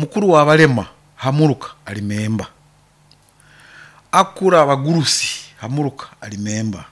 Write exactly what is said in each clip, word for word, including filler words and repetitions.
Mukuru w'abalema hamuruka ali memba, akura abagurusi hamuruka ali memba,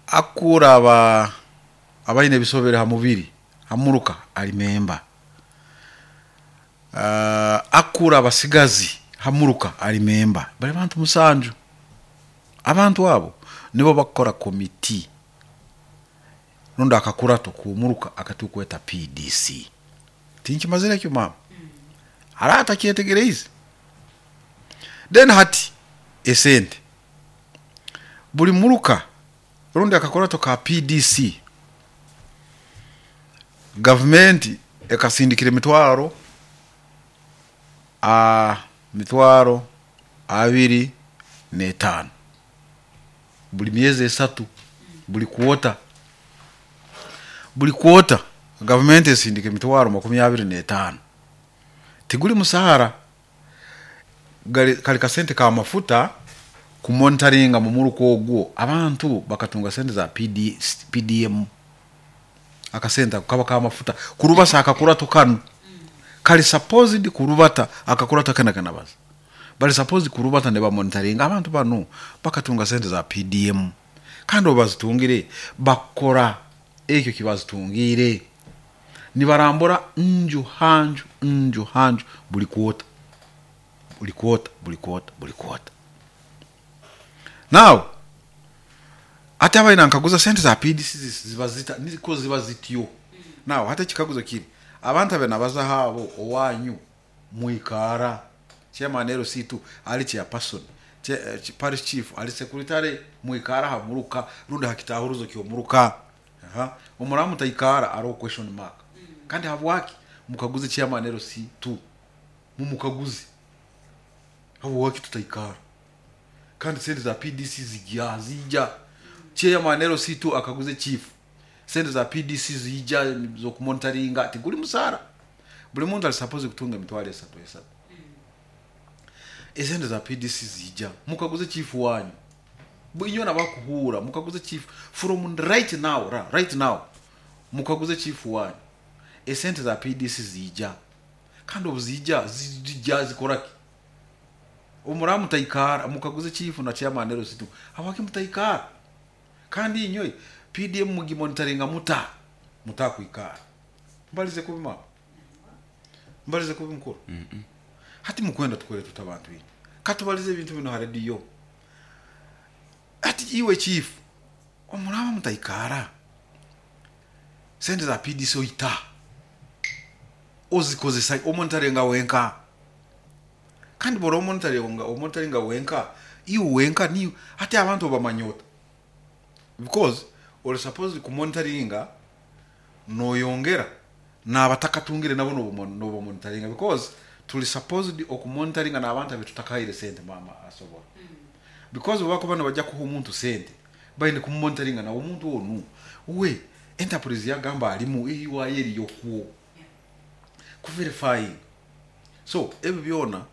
akura aba abaine ebisobere ha mubiri hamuruka ali memba, uh, akura abasigazi hamuruka ali memba. Bali bantu musanju. Abantu abo nibo bakukora komiti rundi akakurato k'omuruka akatukweta P D C. Tinkimazire ekyo maama, hariho atakyetegereize. Then hati esente buli muruka rundi akakurato ka P D C, gavumenti ekasindikira emitwaro a mitwaro abiri n'etaano buli myezi esatu, buli kwota buli kwota gavumenti esindika emitwaro makumi abiri n'etaano. Tiguli musaara, gali kali kasente ka mafuta kumonitaringa mu muruka ogwo abantu bakatunga sente za P D M. Akasente ako kaba ka mafuta kurubasa akakurato kanu kali supposed kurubata akakurato kana kanabaza bali supposed kurubata ne bamonitaringa abantu bano bakatunga sente za P D M, kandi obazitungire bakora ekyo kibazitungire nibarambura nju hanju nju hanju buli kwota buli kwota buli kwota buli kwota. Now ate abaina nkaguza sente za P D C ziba zita niko ziba zityo. Now hata kikaguzo kiri abantu abe nabaza habo owanyu muikara chairman L C two ali chairperson che, parish chief ali secretary muikara hamuruka rundi hakitahuruzo kyo muruka. Aha, omuramu taikara aro question mark. Kandi habwaki mukaguze chairman L C two mumukaguze habwaki tutaikara kandi sente za P D C zijya zijya chairman L C two akaguze chief sente za P D C zijya zo kumonitoringa tiguli musara buli muntu ali suppose kutunga emitwaro esatu esatu. Esente za P D C zijya mukaguze chief wanyu inyo nabakuhura mukaguze chief from right now ra, right now mukaguze chief wanyu esente za P D C zijya kandi obuzijja zijja zikoraki omuramu taikara mukaguze chief na chairman L C two habwaki mutaikara kandi inyo P D M mugimonitoringa muta mutakwikara. Mbalize kubima mbalize kubi mukuru. Mm -mm. Hati mukwenda tukore tutabantu inyo katubalize ebintu bino ha radio. Ati iwe chief omuraba mutaikara sente za P D C oita ozikozesa omonitoringa wenka kandi bora omonitoringa omonitoringa wenka iwe wenka ni hati abantu obamanyota because ori supposed kumonitoringa noyongera n'abatakatungire nabo nobo monitoringa because tuli supposed okumonitoringa n'abantu abetutakaire sente mama asobola. Mm. Because bako bano bajja kuha omuntu sente bayine kumonitoringa na omuntu onu we enterprise yagamba alimu eyiwa eri yokuwo ku verify. So ebyo byona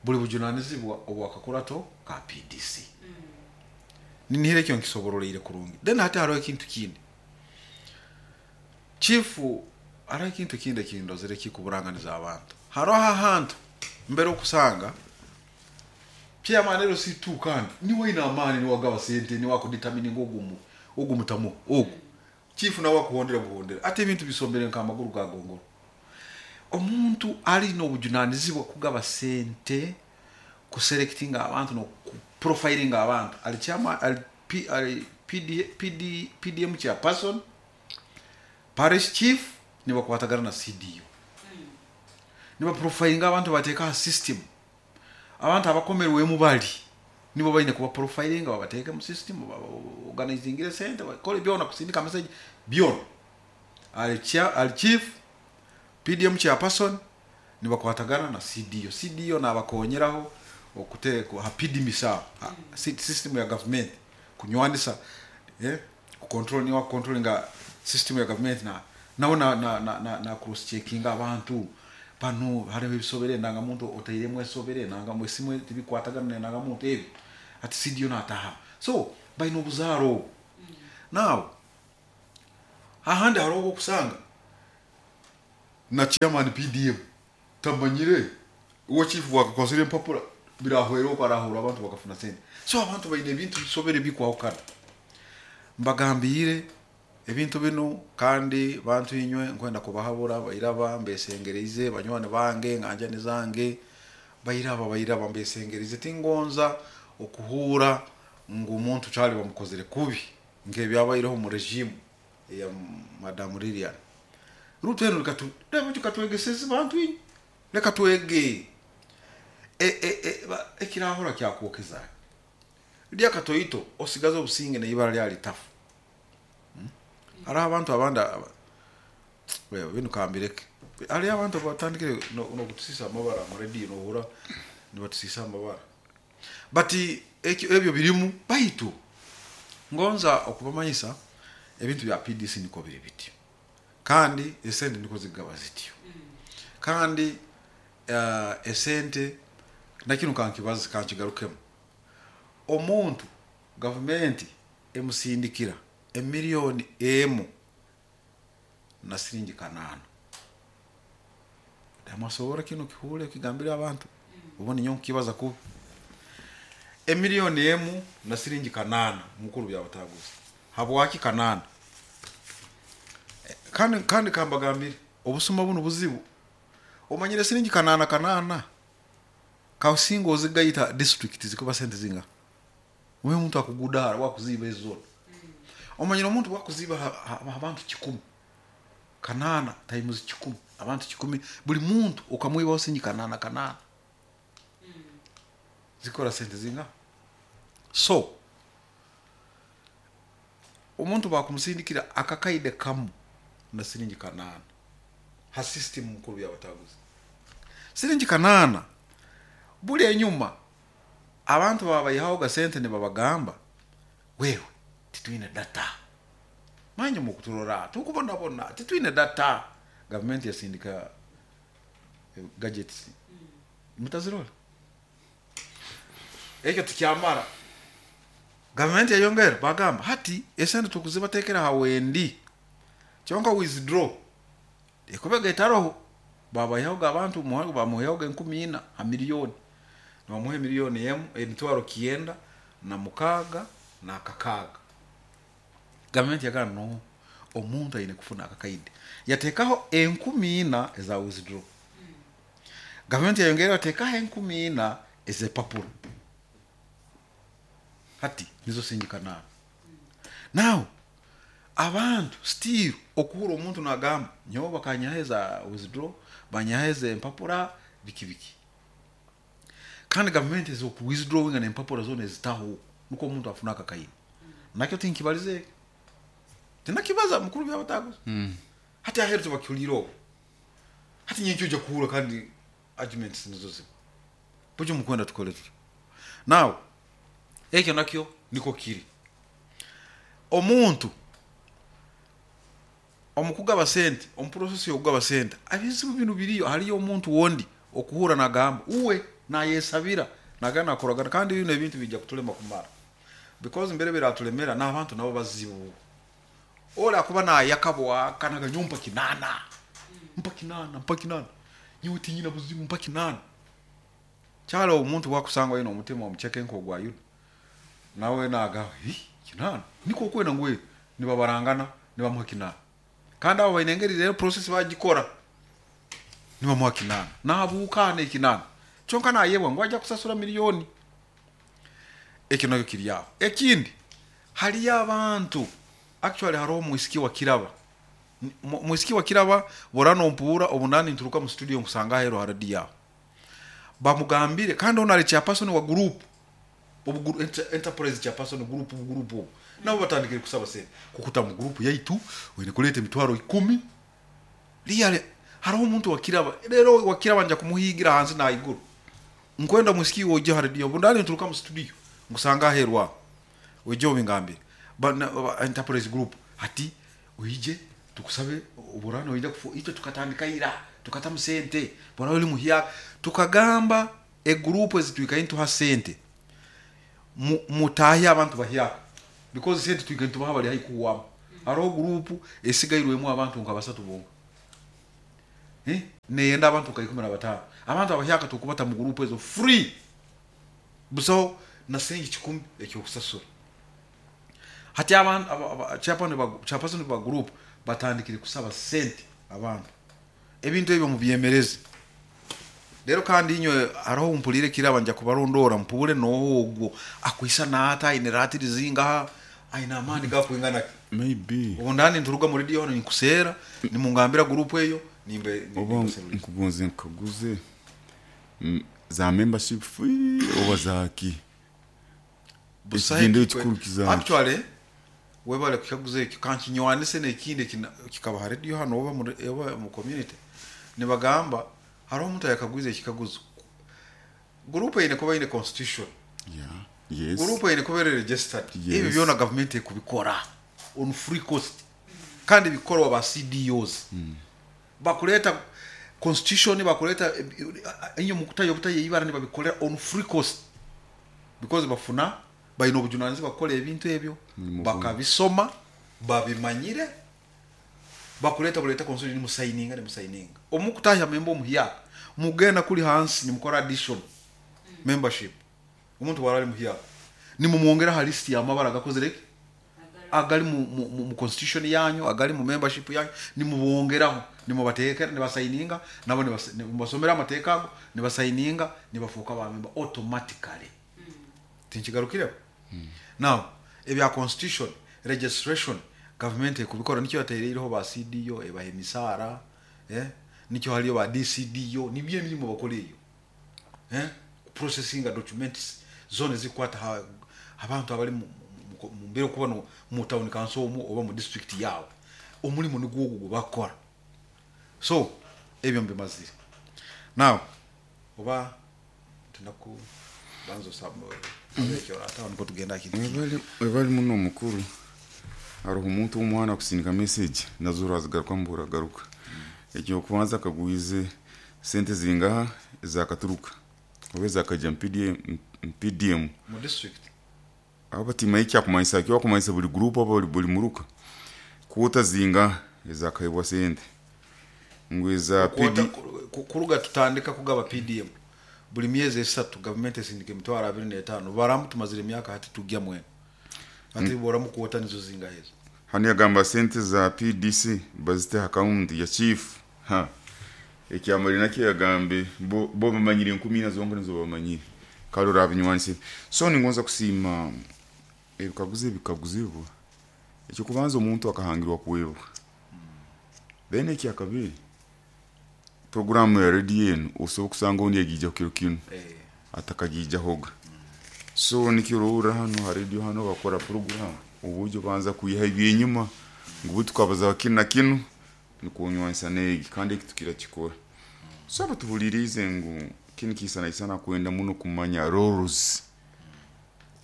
buli bujunanizibwa obwakakurato ka P D C. Mm. Ninihire kyo nkisoborolere kurungi. Then hati hariho ekintu kindi chief hariho ekintu kindi ekindozere kikuburanganiza abantu. Hariho ahantu mbere okusanga chairman L C two kandi niwe ina amani niwe agaba sente niwe akudetermine ogumu ogumutamu ogu chief nawe akuhondera buhondera ate ebintu bisombere nka amaguru ga gongoro. Omuntu ali n'obujunanizibwa kugaba sente kuselectinga abantu no profilinga abantu ali chairman ali P, ali P D, P D, P D M chairperson parish chief nibakwatagana na C D U. Mm. Niba profilinga abantu bateka system abantu abakomerwe mu bali nibo bayine kuba profilinga babateka mu system organizing center bakole byona kusindika message byona ali chair ali chief P D M chairperson nibakwatagana na C D U. C D U nabakonyeraho okuteko ha P D misa system ya government kunywanisa eh ku control ni wa controllinga system ya government na nawo na na na, na, na cross checking abantu pano hariho ebisobere nanga muntu otairemu esobere nanga mwesimwe tibikwatagana nanga muntu ebi ati C D U nataha so bayino obuzaro. Mm. Now ahandi hariho okusanga Na chairman P D M tamanyire uwo chief wakakozere empapura birahwera uko arahura abantu bakafuna sente. So abantu bayine ebintu bisobere bikwahukana. Mbagambire ebintu bino kandi bantu inywe nkwenda kubahabura bairaba mbesengereize banywane bange nganja nizange bairaba bairaba mbesengereize tingonza okuhura ngu omuntu cyali bamukozere kubi ngebyabayireho mu regime ya Madam Lilian. Ruteno rikatu reba tukatwegeseze bantu inywe reka twege e e e ekirahora kyakwokeza lya katoito osigaza obusinge neibara lya litafu. Hmm? Ari abantu abanda wewe binu kambireke ari abantu batandikire no, no kutusisa amabara mu radio no hura ni batusisa amabara bati ebyo birimu baitu ngonza okubamanyisa ebintu bya P D C niko biri biti kandi esente niko zigaba zityo kandi uh, esente nakino kankibaza kankigarukemo omuntu government emusindikira emiliyoni emu na siringi kanana. Damasobora kino kihule kigambira abantu ubone nyo kibaza ku emiliyoni emu na siringi kanana mukuru byabataguza habwaki kanana kandi kandi kambagambire obusuma buno buzibu omanyire siringi kanana kanana kausingo zigayita district zikuba sente zinga wewe muntu akugudara wakuziba ezo omanyire omuntu wakuziba abantu kikumi kanana times kikumi abantu kikumi buli muntu okamwiba osinyi kanana kanana mm. Zikora sente zinga so omuntu bakumusindikira akakaide kamu na siringi kanana ha system mukuru yabataguza siringi kanana buli enyuma abantu babayihaho gasente ne babagamba wewe titwine data manje mukuturora tukubona bona titwine data government yasindika eh, gadgets mm. Mutazirora ekyo tukyamara government yayongera bagamba hati esente tukuzibatekera hawendi kyonka withdraw ekobega etaroho babayaho abantu muhango bamuyaho enkumi ina ha miliyoni bamuhe miliyoni emu emitwaro kienda na mukaga na kakaga. Government yagana no omuntu ayine kufuna akakaide yatekaho enkumi ina eza withdraw mm. Government yayongera yatekaho enkumi ina ezepapuro hati nizo sinjikana mm. Now abantu still okuhura omuntu nagamba nyoba bakanyaheza withdraw banyaheza empapura biki biki kandi government ezo ku withdrawing na empapura zone zitaho nuko omuntu afuna akakaide mm. Nakyo tinkibalize tinakibaza mukuru byabataguza mm. Hati aheru tubakuliro hati nyenkyo ujya kuhura kandi arguments nizo ziba bujo mukwenda tukole tuti now ekyo nakyo niko kiri omuntu omukugaba sente omuprocess yokugaba sente abizibu binu biriyo haliyo omuntu wondi okuhura nagamba uwe nayesabira nagana akoragana kandi bino ebintu bijja kutulema kumara because mbere biratulemera n'abantu nabo bazibu ola kuba nayakabwa kanaga nyumpa kinana mpa kinana mpa kinana nyewe tinyina buzibu mpa kinana cyalo omuntu wakusangwa yino omutima omucheke nko gwa yuda nawe naga hi kinana niko kwena ngwe nibabarangana nibamuha kinana kandi abo bainengeri rero process bagikora nibamuha kinana nabukane kinana cyonka nayebwa ngo ajya kusasura miliyoni ekyo nakyo kiri aho. Ekindi hali abantu actually hariho mwisiki wa Kiraba mwisiki wa Kiraba borano mpura obunani nturuka mu studio nkusanga hero haradia bamugambire kandi onare chairperson wa group obu enterprise chairperson group group nabo batandikire kusaba sente kukuta mu group yaitu wene kuleta emitwaro ikumi liyale hariho omuntu wa Kiraba rero wa Kiraba nja kumuhigira hanze na iguru nkwenda mwisiki woje haradia obunani nturuka mu studio nkusanga herwa wejo bingambire ba, ba enterprise group hati uije tukusabe uburano ija kufu ito tukatandika ira tukatamu sente bora oli muhia tukagamba e group ezitwika into ha sente mutahi abantu bahia because sente twika into habali haikuwa haro group esigairwemu abantu nka basatu bonga Eh? Neyenda abantu ka ikumi na batano. Abantu abahyaka tukubata mu group ezo free. Busaho na sengi kikumi ekyokusasura. Hati abantu aba- aba- chairman ba chairperson ba group batandikire kusaba sente abantu. Ebintu ebyo mubyemereze. Rero kandi inywe hariho mpulire kiraba nja kubarondora mpure noogwo akwisa nata aine ratiri zingaha aine amaani gakwingana ki. Maybe. Ubu ndani nturuga muri radio hano nkusera nimungambira group eyo nimbe Oba nimbe- nkugonze nkaguze mm, za membership fee oba zaki? Busahe Ekigendo kikwe- ekikuru kizaki? Actually webale kukaguza ekyo, kankinywanise nekindi ekina- kikaba ha radio hano oba mu, oba mu community nibagamba hariho omuntu ayakaguza ekikaguzo. Group eine kuba ine constitution. Yeah, yes. Group eine kuba eri registered. Yes. Ebyo byona gavumenti ekubikora on free cost kandi bikorwa ba C D Os. Bakuleta constitution, bakuleta inyo mukutayo obutayo ibara nibabikolera on free cost because bafuna balina obujunanizibwa kukola ebintu ebyo. Ni bakabisoma, babimanyire, bakuleta buleta constitution, nimusayininga nimusayininga omukutahya memba omuhyaka mugenda kuli hansi nimukora addition membership. Omuntu warali muhyaka nimumwongera ha list y'amabara gakozere ki agali mu, mu, mu, mu constitution yanyu, agali mu membership yanyu, nimubongeraho, nimubatekera, nibasayininga nabo, nibas- nimubasomera amateeka ago, nibasayininga, nibafuuka ba member automatically. Tinkigarukireho. Now ebya constitution, registration, government ekubikora. Nikyo yatereireho ba C D O, ebaha emisaara, eh? Nikyo haliyo ba D C D O, nibyo emirimu bakora eyo, eh? Processinga documents zona ezikwata ha- abantu abali mu- mu- mu mbeera okuba no- mu town council omu oba mu district yaabwe. Omulimu nigwo ogwo gwe bakora. So ebyo mbimazire. Now oba tunaku banza osaba ekyo ate niko tugenda kintu. Webali- webali muno omukuru. Hariho omuntu omwana akusindika message nazo urazigaruka mburagaruka. Ekyokubanza akagwize sente zingaha ezakaturuka oba ezakajya mu P D M, mu P D M Mu district. Abo batimaye ekyakumanyisa kyo bakumanyisa buli group oba buli, buli muruka kwota zingaha ezakahebwa sente ngu eza Kwota- P D ku- kuruga tutandika kugaba P D M, buli myezi esatu gavumenti esindika emitwaro abiri n'etaano. Baramu tumazire emyaka hati tujya mwena hati boramu kuwota nizo zingaha ezo. Hano yagamba sente za P D C bazite account ya chief. Ha, ekyamali nakyo yagambe bo, bo bamanyire enkumi ina zonka nizo bamanyire kale orabinywanise. So ningonza kusiima ebikaguzo ebikaguzibwa. Ekyokubanza, omuntu akahangirwa kuwebwa. Then ekyakabiri, programu ya radio enu osobola kusanga ondi egijja kiro kinu Eh, atakagijahoga. So nikyo ororra hano ha radio hano bakora program uburyo banza kuyiha ebyenyuma ngu bu tukabaza kinu na kinu nikunywanisa negi kandi eki tukirakikora. So abatuhuliriize ngu kinu kiisanaisana kwenda muno kumanya roles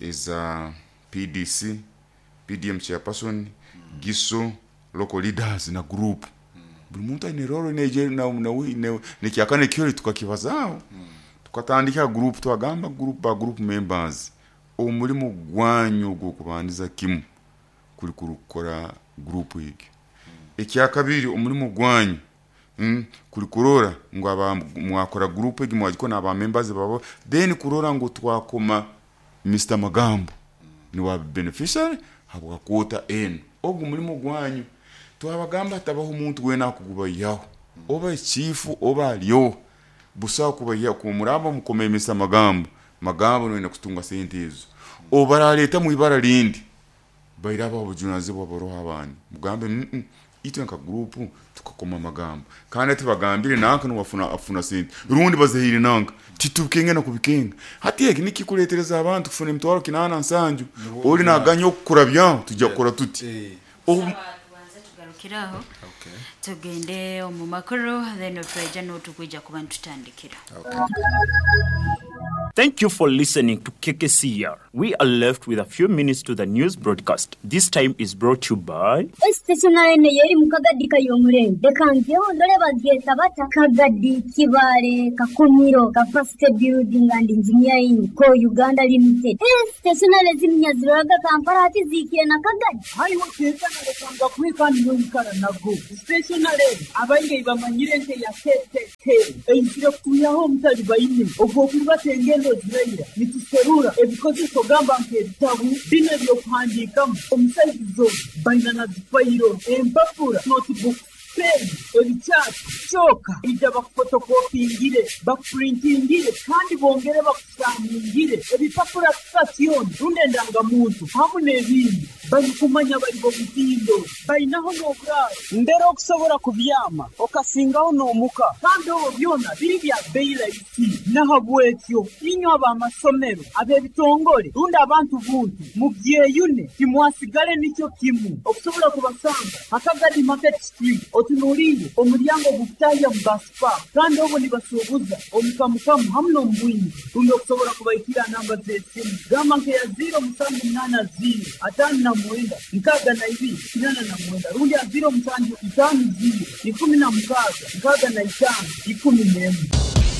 eza P D C, P D M chairperson, giso, local leaders na group. Buli muntu aine role neje na na ne nekyakane kyoli tukakibazaaho. Tukatandika group, twagamba group ba group members, omulimu gwanyu ogw'okubandiza kimu kuli kurukora group egi. Ekyakabiri, omulimu gwanyu mm, kuli kurora ngu aba mwakora group egi mwagikora n'aba members babo, then kurora ngu twakoma Mister Magambo niwa beneficiary habwa kwota eno. Ogwo mulimu gwanyu. Twabagamba hatabaho omuntu wena akugubayihaho, oba echifu oba aliyo busaho kubayiha kumuraba mukome Mister Magambo. Magambo noyina kutunga sente ezo obaraleta mu ibara lindi bairaba obujunazibwa baroho abandi mugambe mm -mm. Itwe nka group tukakoma amagambo kandi tibagambire nanka niwafuna afuna sente rundi bazahire nanka titubikenga na kubikenga. Hati eki nikikuletereza abantu kufuna emitwaro kinana nsanju oli naganya okukurabya tujja kukora tuti. Eh, Obu- Tubanze tugarukiraho, okay. tugende omu makuru, then otweja n'otukwija kuba nitutandikira. Okay. Thank you for listening to K K C R. We are left with a few minutes to the news broadcast. This time is brought to you by Stationary ne yeri mu Kagadi kayomurembe reka ndore bageta bata Kagadi Kibale Kakumiro Capacity Building and Engineering Co Uganda Limited. Stationary ziminyaziraga Kampala ati zikiye na Kagadi haiwe kekana lekanga kwikani n'omukara nago stationary abaingi bamanyire nte ya K K K eizire kutuyaho omutali baine ogw'okurubata engendo ziraira nituserura ebikozeso gamba nk'ebitabu bino ebyokuhandiikamu omusaizizo baina na zifayiro empapura notebook pen ebikyapa kyoka ija bakufotokopingire bakupurintingire kandi bongere bakusaningire ebipapura sitasioni rundi endangamuntu hamu n'ebindi barikumanya bari bomutindo bainaho n'oburaaro mbere okusobola kubyama okasingaho n'omuka kandi obwo byona biri bya beyi rahisi nahabwekyo inywe ab'amasomero ab'ebitongole rundi abantu buntu mubyeyune timwasigale nikyo kimu okusobola kubasanga Akagadi Market Street otunuulire omulyango gukutahya mu basipa kandi obwo nibasuubuza omukamukamu hamu n'omubwingi rundi okusobola kubaikira namba z'esimu gamba nkeya ziro musanju munaana ziro ataano na mwenda nkaaga na ibiri kinana na mwenda rundi ya ziro musanju itaano ziro ikumi na mukaaga nkaaga na itaano ikumi n'emwe.